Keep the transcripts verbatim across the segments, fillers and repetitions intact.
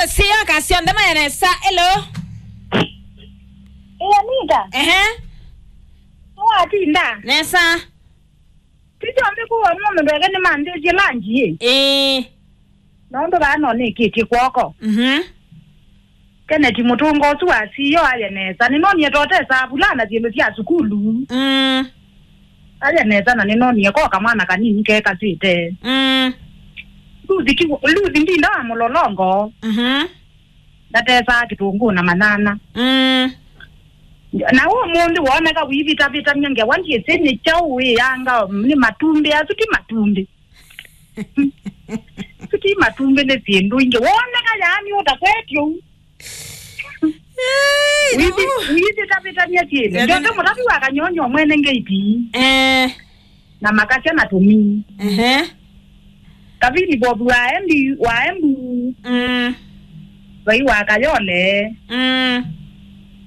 Sio ka syonthe mayanesa. Hello. Ĩĩ, Anita. Ehe. Nĩwatinda? Nesa. Ti syonthe kũu mũndũ ndeke nĩmanthĩtie lanji ĩ. Ĩĩ. Nũndũ vaa no nĩkĩtie kw'oko. Mhm. Kenneth Mũtũnga ũsu wa C E O aye nesa. Nĩnonie totesa vulana syĩndũ sya sukulu. Mm. Aye nesa na nĩnonie ko kamwana kanini kekasĩte. Mm. Luthi ki-, Luthi ndinda wa mũlolongo. Mhm. Ndatesaa kĩtũngũ na manyanya. Mm. Na ũmũnthĩ woneka wĩvitavĩtany'a ngewa ndyĩsĩ nĩ kyaũ wĩanga nĩ matumbĩ asu ti matumbĩ. Asu ti matumbĩ nĩ syĩndũ ingĩ. Woneka yaani ũtakwetye ũu. Hey, no. Wĩthi-, wĩthitavĩtany'a syĩndũ. Ethĩ- Njoke mũtavi wa kanyonyo mwene ngeiti. Eh. Na makasya na tũmii. Ehe. Kavini Bob wa Embu, wa Embu. Mm. Vai wa Kayole. Mm.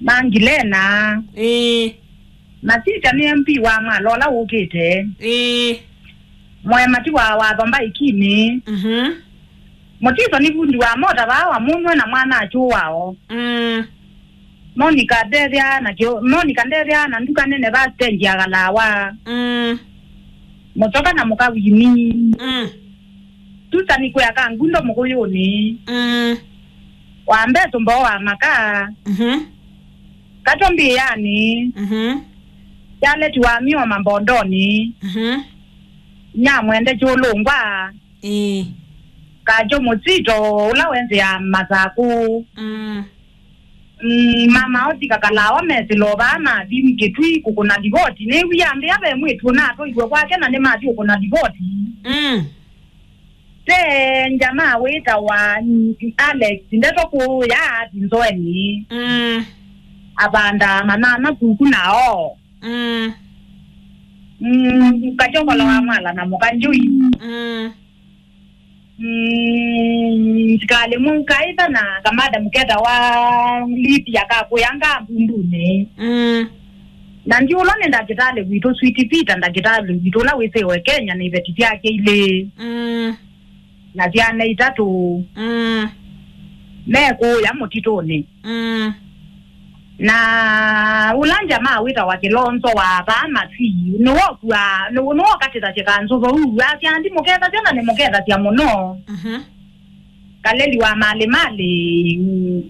Mangilena. Ĩĩ. Masita nĩ M P wa Mwala ũla ũkĩte. Ĩĩ. Mwemati wa watho mbaikini. Mhm. Mũtiso nĩ vundi wa mota vaa wa mũnwe na mwana akyũ wao. Mm. Monica ndethĩa na kĩo-, Monica ndethĩa na nduka nene va stage ya Kalawa. Mm. Mũtoka na mũka Wini. Mm. Susan kwĩa ka ngundo mũkũyũnĩ. Mm. Wa mbeso mboo wa maka. Mhm. Kato mbĩanĩ. Mhm. Charlotte wa mĩo mambondonĩ. Mhm. Nyamwende kyũlũngwa. Ĩĩ. Kajo mũsito ũla wenzĩaa Masakũ. Mm. Mm, mama osi kakalawa mesĩlo vaa mathi Kĩtui kũkũna livoti. Nĩw'ĩa mbĩa ve mwĩtu ũnatwaĩwe kwake na nĩmathi kũkũna livoti. Mm. Te njamaa wĩtawa Alex, ndeto kũya athi nzoeni. Mm. Avanda manana kuku nao. Mm. Mm, kachokola wa Mwala na mũka Njui. Mm. Mm, sikali mũkaitha na kamada mũketa wa Lydia kakwĩanga mbundunĩ. Mm. Na ndi ũla nĩ ndakĩtalĩ witũ, Sweet Peter, ndakĩtalĩ witũ ũla wĩsĩwe Kenya na iveti syake ilĩ. Mm. Na syana itatũ. Mm. Mekũya mũtitũnĩ. Mm. Na ũla njamaa wĩtawa Kĩlonzo wa vaa Masii, nĩwokua, nĩ-, nĩwokatĩthasya kanzũva ũu, asya, "Ndimũkethasya na nĩmũkethasya mũno." Mhm. Kaleli wa malĩ malĩ, mm,